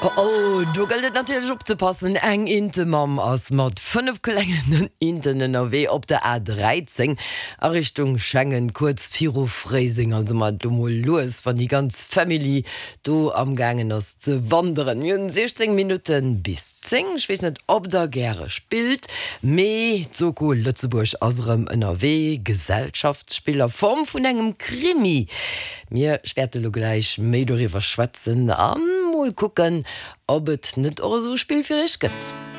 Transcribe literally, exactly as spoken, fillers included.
Oh, do gëllt et natierlech opzepassen, Eng Intemamm ass mat fënnef klengen Inten ënnerwee op der A dräizéng a Richtung Schengen, kuerz viru Fréiseng. Also maacht do mol lues, wann déi ganz Family do am gaangen ass ze wanderen. Mir hunn siechzéng Minutte bis zéng. Ech weess net, ob der gäre spillt, mee d'Soko Lëtzebuerg ass erëm ënnerwee, Gesellschaftsspill a Form vun engem Krimi. Mir wäerte lo gläich méi doriwwer schwätzen a mol kucken, ob et net och esou e Spill fir iech gëtt.